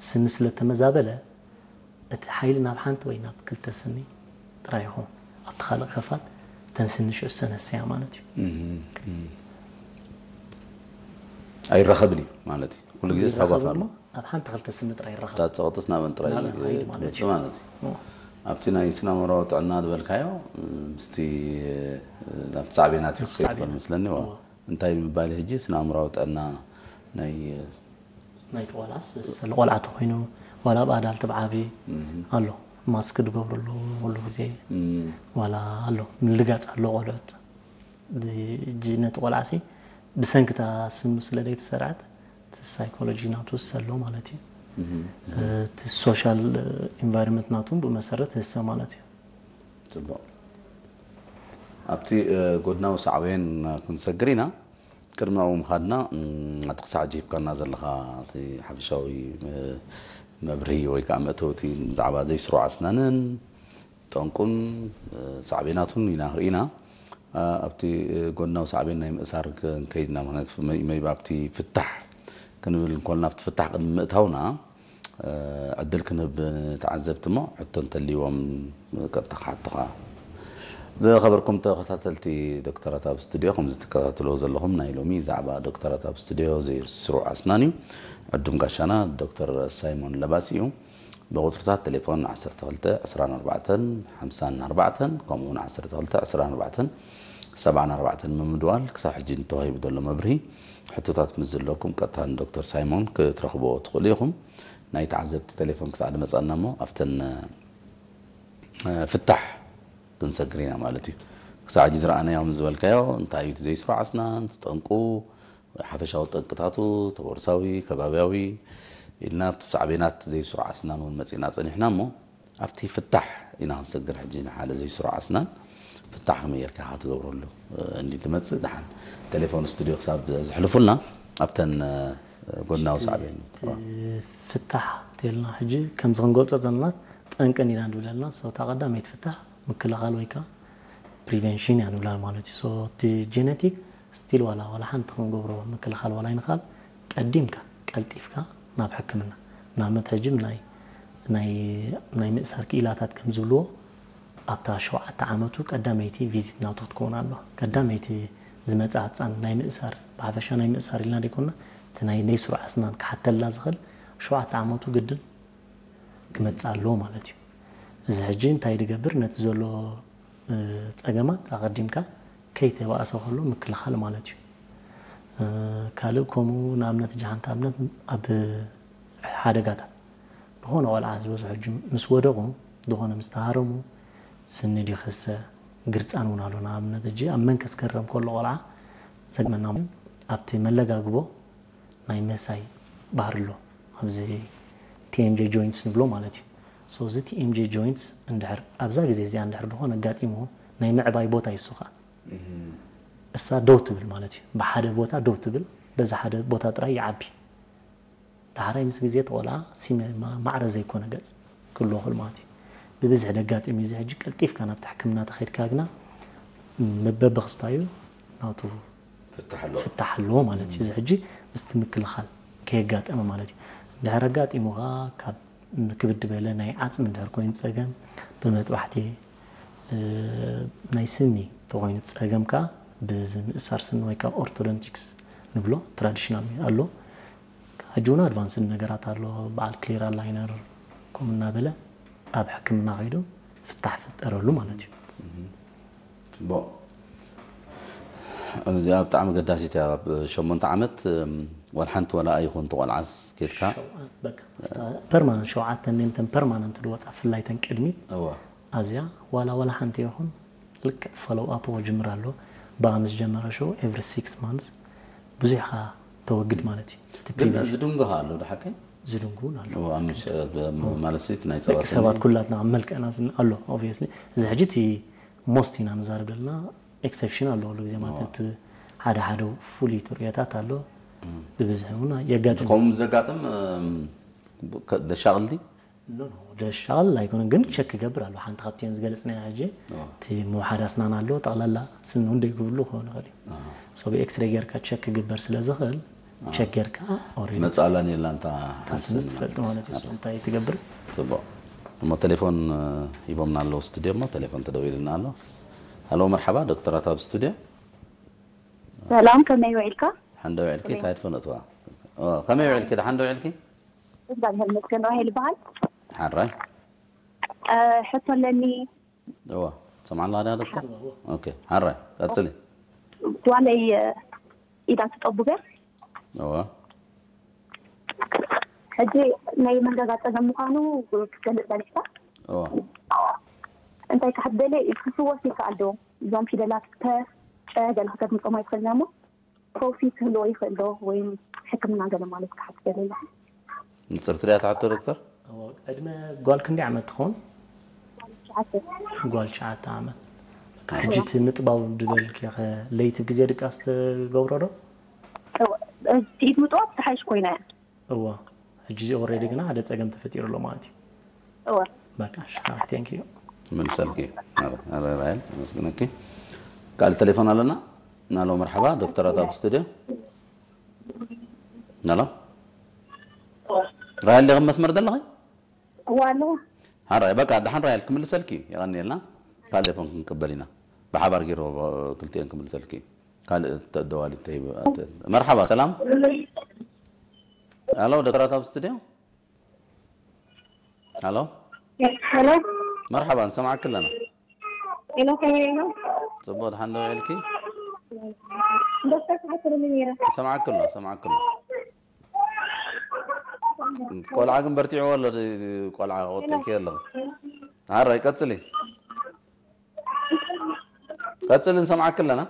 ስኒ ስለ ተመዛበለ እቲ ሓይሊ ናብ ሓንቲ ወይ ናብ ክልተ ስኒ ጥራይ ይኸውን። ኣብቲ ካልእ ከፋል እተን ስኒ ሽዑ ዝሰነሰያ ማለት እዩ። ኣይራኸብን እዩ ማለት እዩ። ኩሉ ግዜ ሓጓፍ ኣሎ። ኣብ ሓንቲ ክልተ ስኒ ጥራይ ይራኸብ። እታ ጸቕጥስ ናበን ጥራይ ናበን ሓይሊ ማለት ትመጽእ እዩ። ማለት እዩ። ኣብቲ ናይ ስነ ኣእምሮኣዊ ጥዕና ዝበልካዮ ምስቲ ናብቲ ሳዕቤናት እዩ ክኸይድ ከሎ መስለኒ። እንታይ ምባል ሕጂ ስነ ኣእምሮኣዊ ጥዕና ናይ ናይ ቆልዓስ ስለ ቆልዓ ተኮይኑ ዋላ ኣብ ኣዳልት ብዓቢ ኣሎ ማስክ ዝገብረሉ ኩሉ ግዜ ዋላ ኣሎ ምልጋፅ ኣሎ ቆልዑት። ሕጂ ነቲ ቆልዓሲ ብሰንክታ ስኑ ስለ ዘይተሰርዐት እቲ ሳይኮሎጂ ናቱ ዝሰሎ ማለት እዩ። እቲ ሶሻል ኢንቫይሮንመንት ናቱ ብመሰረት ህሰ ማለት እዩ። ጽቡቕ። ኣብቲ ጎድናዊ ሳዕቤን ክንሰግር ኢና። ቅድሚ ኣብኡ ምኻድና እቲ ክሳዕ ሕጂ ሂብካና ዘለኻ እቲ ሓፈሻዊ መብርሂ ወይ ከዓ መእተውቲ ብዛዕባ ዘይስሩዕ ኣስናንን ጠንቁን ሳዕቤናቱን ኢና ርኢና። ኣብቲ ጎድናዊ ሳዕቤን ናይ ምእሳር ክንከይድ ኢና። ምክንያቱ መይቢ ኣብቲ ፍታሕ ክንብል እንኮልና ኣብቲ ፍታሕ ቅድሚ ምእታውና ዕድል ክንህብ ንተዓዘብቲ እሞ ሕቶ እንተልይዎም ቀጥታ ክሓቱኻ። ዝኸበርኩም ተኸታተልቲ ዶክተራት ኣብ ስቱድዮ ከምዚ ትከታተልዎ ዘለኹም ናይ ሎሚ ዛዕባ ዶክተራት ኣብ ስቱድዮ ዘይስሩዕ ኣስናን እዩ። ዕዱም ጋሻና ዶክተር ሳይሞን ለባሲ እዩ። ብቁፅርታት ቴሌፎን ዓሰርተ ክልተ ዕስራን ኣርባዕተን ሓምሳን ኣርባዕተን ከምኡ እውን ዓሰርተ ክልተ ዕስራን ኣርባዕተን ሰብዓን ኣርባዕተን ምምድዋል ክሳብ ሕጂ ንተዋሂቡ ዘሎ መብርሂ ሕቶታት ምስ ዘለኩም ቀጥታ ንዶክተር ሳይሞን ክትረኽብዎ ትኽእሉ ኢኹም። ናይ ተዓዘብቲ ቴሌፎን ክሳዕ ዝመፀና እሞ ኣብተን ፍታሕ ክንሰግር ኢና ማለት እዩ። ክሳዕ ሕጂ ዝረኣናዮም ዝበልካዮ እንታይ እዩ እቲ ዘይስሩዕ ኣስናን፣ እቲ ጠንቁ፣ ሓፈሻዊ ጠንቅታቱ፣ ተወርሳዊ፣ ከባብያዊ ኢልና ኣብቲ ሳዕቤናት ዘይስሩዕ ኣስናን እውን መፂእና ፀኒሕና እሞ ኣብቲ ፍታሕ ኢና ክንሰግር ሕጂ ንሓደ ዘይስሩዕ ኣስናን ፍታሕ ከመይ ጌርካ ኢኻ ትገብረሉ እንዲ ትመፅእ ደሓን ቴሌፎን ስቱድዮ ክሳብ ዝሕልፉልና ኣብተን ጎድናዊ ሳዕቤን ፍታሕ ተልና ሕጂ ከምዚ ክንገልፆ ዘለና ጠንቅን ኢና ንብለልና ሰውታ ቀዳመይቲ ፍታሕ ምክልኻል ወይ ከዓ ፕሪቨንሽን እያ ንብላ ማለት እዩ። እቲ ጀነቲክ ስቲል ዋላ ዋላ ሓንቲ ክንገብሮ ምክልኻል ዋላ ይንኻል ቀዲምካ ቀልጢፍካ ናብ ሕክምና ንኣብነት ሕጂ ናይ ናይ ምእሳር ክኢላታት ከም ዝብልዎ ኣብታ ሸውዓተ ዓመቱ ቀዳመይቲ ቪዚት ናቱ ክትከውን ኣለዋ። ቀዳመይቲ ዝመፅእ ህፃን ናይ ምእሳር ብሓፈሻ ናይ ምእሳር ኢልና ዘይኮንና እቲ ናይ ናይ ስሩዕ ኣስናን ክሓተላ ዝኽእል ሸውዓተ ዓመቱ ግድን ክመፅእ ኣለዎ ማለት እዩ። እዚ ሕጂ እንታይ ዝገብር ነቲ ዘሎ ፀገማት ኣቐዲምካ ከይተባእሰ ከሎ ምክልኻል ማለት እዩ። ካልእ ከምኡ ንኣብነት ሕጂ ሓንቲ ኣብነት ኣብ ሓደጋታት ዝኾነ ቆልዓ ዝበዝሑ ሕጂ ምስ ወደቑ ዝኾነ ምስ ተሃረሙ ስኒ ድዩ ክሰ ግርፃን እውን ኣሎ። ንኣብነት ሕጂ ኣብ መንከስ ከረም ከሎ ቆልዓ ዘግመና ኣብቲ መለጋግቦ ናይ ምህሳይ ባህሪ ኣሎ ኣብዚ ቲኤምጄ ጆይንትስ ንብሎ ማለት እዩ። So እዚ ቲኤምጄ ጆይንትስ እንድሕር ኣብዛ ግዜ እዚኣ እንድሕር ድኾነ ኣጋጢምዎ ናይ ምዕባይ ቦታ እዩ እሱ ከዓ እሳ ደው ትብል ማለት እዩ። ብሓደ ቦታ ደው ትብል በዛ ሓደ ቦታ ጥራይ ይዓቢ። ዳሕራይ ምስ ግዜ ተቆልዓ ሲመ ማዕረ ዘይኮነ ገጽ ክህልዎ ክእል ማለት እዩ። ብብዝሒ ደጋጢም እዩ። እዚ ሕጂ ቀልጢፍካ ናብቲ ሕክምና ተኸይድካ ግና በብኽስታዩ ናቱ ፍታሕ ኣለዎ። ፍታሕ ኣለዎ ማለት እዩ። እዚ ሕጂ ምስቲ ምክልኻል ከየጋጠመ ማለት እዩ። እንድሕር ኣጋጢሙ ኸዓ ካብ ክብድ በለ ናይ ዓጽሚ እንድሕር ኮይኑ ጸገም ብመጥባሕቲ ናይ ስኒ ተኾይኑ ጸገም ከኣ ብዚ ምእሳር ስኒ ወይ ከዓ ኦርቶዶንቲክስ ንብሎ ትራዲሽናል ኣሎ። ሕጂ እውን ኣድቫንስድ ነገራት ኣሎ። በዓል ክሊር ኣላይነር ከምኡ እናበለ ኣብ ሕክምና ከይዱ ፍታሕ ፍጠረሉ ማለት እዩ። ጽቡቕ። እዚኣ ብጣዕሚ ገዳሲት እያ። ኣብ ሸሞንተ ዓመት ዋላ ሓንቲ ዋላ ኣይኹን ተቆልዓስ ኬድካ ፐርማነንት ሸውዓተ ነንተን ፐርማነንት ዝወፃ ፍላይተን ቅድሚት እዋ ኣብዚኣ ዋላ ዋላ ሓንቲ ይኹን ልክዕ ፎሎው ኣፕ ክጅምር ኣሎ። ብኣ ምስ ጀመረ ሽዑ ኤቭሪ ሲክስ ማንስ ብዙሕ ኢኻ ተወግድ ማለት እዩ። እቲ ግን ፕሪቨንሽን ዝድንጉ ኣሎ ዶ ሓቀይ? ዝድንጉ እውን ኣሎ። እዋ፣ ምሽ- ማለት ሲ ናይ ጸባ ደቂ ሰባት ኩላትና ኣብ መልክዕና ስን ኣሎ ኦብቪየስሊ። እዚ ሕጂ እቲ ሞስት ኢና ንዛረብ ዘለና ኤክሰፕሽን ኣሎ ኩሉ ግዜ ማለት እቲ ሓደ ሓደ ፍሉይ ትርእዮታት ኣሎ። ብብዝሒ እውን የጋጥም። ከምኡ ምስ ዘጋጥም እም፣ ከ- ደሻቕልቲ ኖ ኖ ደሻል ኣይኮነን ግን ቸክ ክገብር ኣሎ። ሓንቲ ካብቲን ዝገለጽናያ ሕጂ እቲ ምውሓድ ኣስናን ኣሎ ጠቕላላ ስኒ እውን ደይክብሉ ክኸውን ይኽእል እዩ። ሶ ብኤክስሬ ጌርካ ቸክ ክግበር ስለ ዝኽእል ቸገርካ ኦሬዲ መጻላን የላ እንታ ስምስ ትፈልጥ ማለት እዩ። እንታይ ትገብር? ጽቡቅ። እሞ ቴሌፎን እ፣ ሂቦምና ኣለዉ ስቱድዮ። እሞ ቴሌፎን ተደዊልና ኣሎ። ሃሎ፣ መርሓባ፣ ዶክተራት ኣብ ስቱድዮ። ሰላም፣ ከመይ ውዒልካ? ሓንደ ውዒልኪ እንታይ ትፈነጥዋ? ኦ፣ ከመይ ውዒልኪ? ደሓን ዶ ውዒልኪ? እግዚኣብሔር ይመስገን። ራሄል ይበሃል። ሓራይ። እ፣ ሕቶ ኣለኒ። እዋ፣ ሰምዓላ ዳ ዶክተር? ኦኬ፣ ሓራይ፣ ቀጽሊ። ጓለይ እ፣ ኢዳ ትጠቡብ እያ። እዋ፣ ሕጂ ናይ መንጋጋ ጸገም ምዃኑ ክትገልጽ ጸኒሕካ። እዋ። እንታይ ክሓት ገለ ክፍወስ ይከኣል ዶ? እዞም ፊደላት ተ፣ ጨ ገለ ከተድምጾም ኣይትኽእልና እሞ ፈውሲ ክህልዎ ይኽእል ዶ? ወይም ሕክምና ገለ ማለት ክሓት ገለ ኣሎ። ንጽርቲ ድያ ትሓቶ ዶክተር? እዎ፣ ዕድመ ጓል ክንደይ ዓመት ትኸውን? ትሽዓተ። ጓል ትሽዓተ ዓመት። በቃ፣ ሕጂ እቲ ምጥባው ድበልኪ ኸ ለይቲ ግዜ ድቃስ ትገብሮ ዶ? ኢድ ምጥዋብ ትሓይሽ ኮይና እያ። እዎ፣ ሕጂ ኦሬዲ ግና ሓደ ጸገም ተፈጢሩ ኣሎ ማለት እዩ። እወ። በቃ፣ እሺ፣ ሓራይ፣ ቴንክ ዩ። መልሰልኪ። ኣረ፣ ኣረ፣ ራይል፣ መስግነኪ። ካልእ ቴሌፎን ኣለና። ናሎ፣ መርሓባ፣ ዶክተራት ኣብ ስቱድዮ። ናሎ፣ ራይል፣ ዲኺ መስመር ዘለኺ? እወ፣ ኣለኹ። ሓራይ፣ በቃ፣ ደሓን ራይል፣ ክምልሰልኪ እዩ። የቐንየልና። ካልእ ቴሌፎን ክንቅበል ኢና። ብሓባር ገይሩ ክልቲኤን ክምልሰልኪ እዩ። ካልእ ተደዋሊ ተይብ-፣ ኣተ-፣ መርሓባ፣ ሰላም። ኣሎ፣ ዶክተራት ኣብ ስቱድዮ? ኣሎ፣ ሄሎ፣ መርሓባ፣ ንሰማዓኪ ኣለና። ሄሎ፣ ከመይ ኢኹም? ጽቡቕ፣ ደሓን ዶ ውዒልኪ? ዶክተር ክሓትልኒ ነይረ። ሰማዓኪ ኣሎ፣ ሰማዓኪ ኣሎ። ቆልዓ ግን በርቲዕዎ ኣሎ፣ ድ-፣ ቆልዓ ክወጥልኪ ኣሎ። ሓራይ፣ ቀጽሊ። ቀጽሊ፣ ንሰማዓኪ ኣለና።